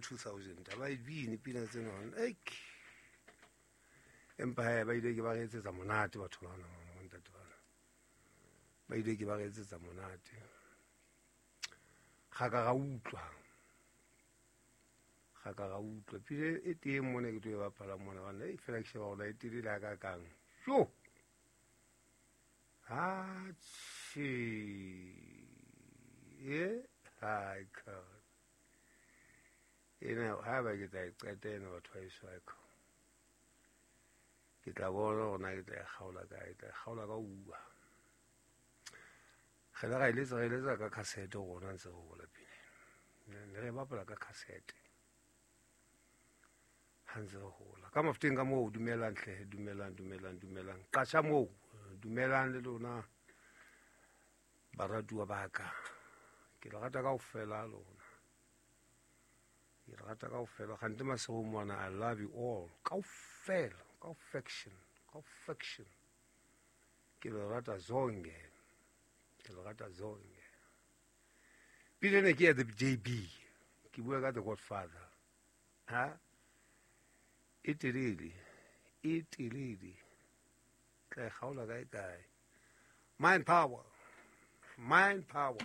2000 ha ba e bine pina tsena ek. Empa he ba ile ke ba re etsetsa monate batho bana, bontate bana. Ba ile ke ba re etsetsa monate. Ga ka ga utlwa. Ga ka ga utlwa. Pile e teng mona ke tlo e bapala mona bana, e fela ke sheba hore e telele ha ka kang. Jo. Ha che. E ha ka. Ena ha ba ke tla e qeta ena batho ba eso ka. Ke tla bona hore na ke tla e kgaola kae, ke tla e kgaola ka uwa. Re la ra eletsa, re eletsa ka cassette rona ntse re hola pele. Ne re bapala ka cassette. Ha ntse re hola. Ka mafuteng ka moo, dumelang hle, dumelang, dumelang, dumelang. Qasha moo, dumelang le lona baratuwa ba ka. Ke le rata kaofela lona. Ke le rata kaofela. Kgante Masego mona, I love you all. Kaofela, kaofection, kaofection. Ke le rata zonke. Ke le rata zonke. Pele ne ke ya the JB. Ke bua ka the Godfather. Ha? E telele. E telele. Tla e kgaola kae kae. Mind power. Mind power.